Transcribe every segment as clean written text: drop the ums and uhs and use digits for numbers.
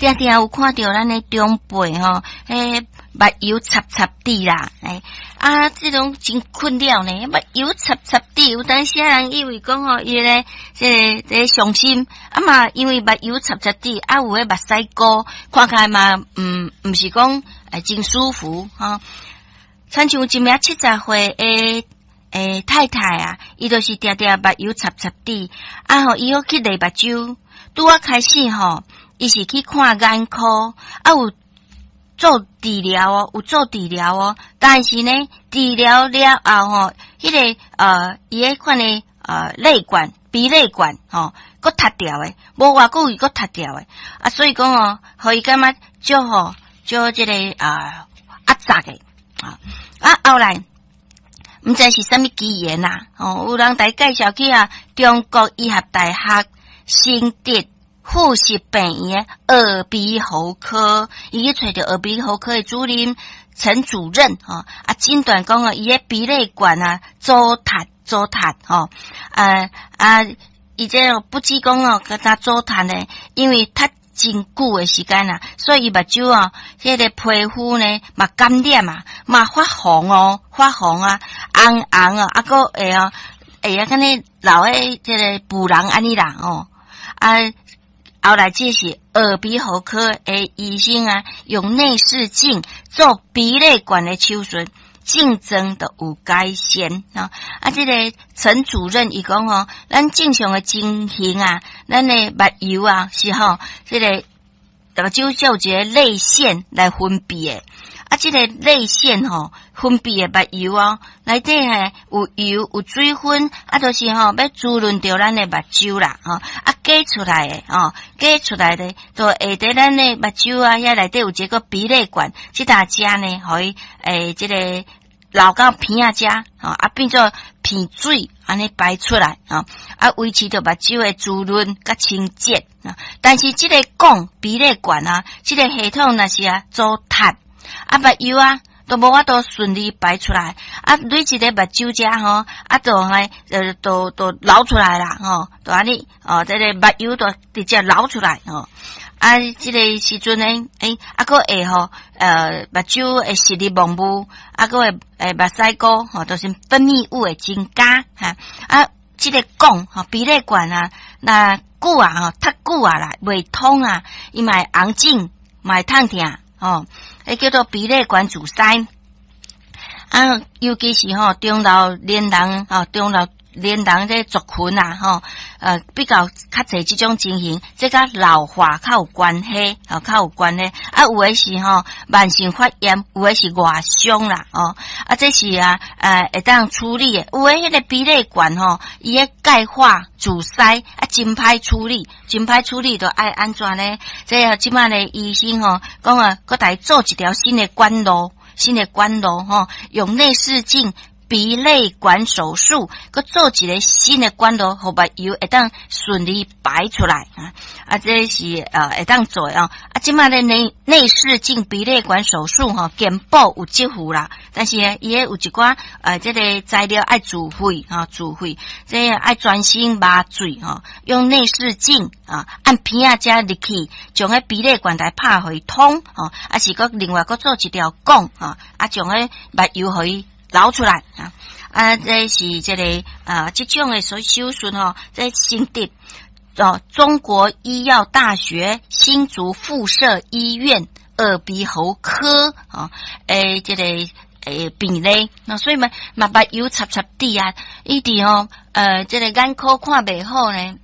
定定有看著咱的長輩吼，彼目油插插滴啦，欸，啊，這種真困擾呢，目油插插滴，有當時人以為講吼，伊咧這个這个傷心，啊嘛，因為目油插插滴，啊有彼目屎糊，看起來嘛，毋是講欸真舒服吼。親像一名70歲的欸太太啊，伊就是定定目油插插滴，啊吼，伊閣去淚目睭，拄仔開始吼，伊是去看眼科，啊有做治療哦，有做治療哦，但是呢，治療了後吼，彼个伊彼款的淚管、鼻淚管吼，閣塌掉的，無偌久伊閣塌掉的，啊，所以講哦，予伊感覺足吼，足這个壓榨的啊，啊後來。毋知是啥物機緣啊！哦，有人來介紹去啊，中國醫學大學新竹附設病院的耳鼻喉科，伊去揣著耳鼻喉科的主任陳主任吼，啊，診斷講哦，伊的鼻淚管啊，阻塞阻塞吼，啊啊，伊這不止講哦，閣焦阻塞呢，因為塞真久的時間啊，所以伊目睭哦，彼个皮膚呢嘛感染啊，嘛發紅哦，發紅啊，紅紅哦，啊閣會哦，會啊，敢若流彼這个浡囊按呢啦哦，啊，後來這是耳鼻喉科的醫生啊，用內視鏡做鼻淚管的手術，症狀就有改善啊！啊，這个陳主任伊講吼，咱正常的情形啊，咱的目油啊是吼，這个目睭就有一个淚腺來分泌的。啊，這個淚腺吼分泌的目油哦，內底嘿有油有水分，啊，就是吼欲滋潤著咱的目睭啦，吼啊，擠出來的吼，擠出來的，就會佇咱的目睭啊，遐內底有一個鼻淚管，這搭遮呢，予伊欸這個流到鼻仔遮，吼啊變做鼻水，按呢排出來，吼啊維持著目睭的滋潤佮清潔。但是這个管鼻淚管啊，這个系統若是啊阻塞。啊，目油啊，都無法度順利排出來，啊，累一个目睭遮吼，啊，就來都流出來啦，吼，就按呢，哦，這个目油就直接流出來，吼，啊，這个時陣呢，欸，啊，閣會吼，目睭會視力模糊，啊，閣會欸目屎糊，吼，就是分泌物會增加，哈，啊，這个管吼，鼻淚管啊，若久啊，吼，塞久啊啦，袂通啊，伊嘛會紅腫，嘛會痛疼，吼。彼叫做鼻淚管阻塞，啊，尤其是吼中老年人吼，中老年人這族群啊，吼，比較較濟這種情形，這佮老化較有關係，吼，較有關係。啊，有的是吼慢性發炎，有的是外傷啦，哦，啊，這是啊，會當處理的。有的彼个鼻淚管吼，伊的鈣化阻塞，啊，真歹處理，真歹處理，就愛按怎呢？這這擺的醫生吼，講啊，閣來做一條新的管路，新的管路吼，用內視鏡鼻淚管手術，閣做一个新的管路，予目油會當順利排出來啊！啊，這是會當做的哦。啊，這擺的內視鏡鼻淚管手術吼，健保有給付啦，但是呢，伊彼有一寡這个材料愛自費吼，自費，這個愛全身麻醉吼，用內視鏡啊，按鼻仔遮入去，將彼鼻淚管來拍予伊通吼，啊是閣另外閣做一條管吼，啊將彼目油予伊流出來啊！啊，這是這个啊，這種的手術吼，這新竹哦，中國醫藥大學新竹附設醫院耳鼻喉科啊，欸，這個欸病例，那所以嘛嘛目油插插滴啊，伊佇吼這个眼科看袂好呢，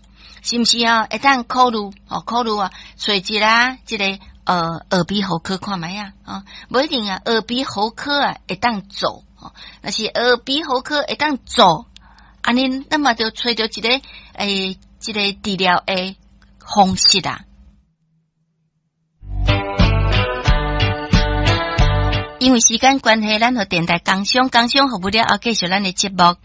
是毋是啊？會當考慮哦，考慮啊，揣一下這個耳鼻喉科看覓啊？啊，無一定啊，耳鼻喉科啊會當做。若是耳鼻喉科會當做，按呢那麼就揣著一个欸，這个治療的方式啊。因為時間關係，咱予電台工商，工商服務了後，繼續咱的節目。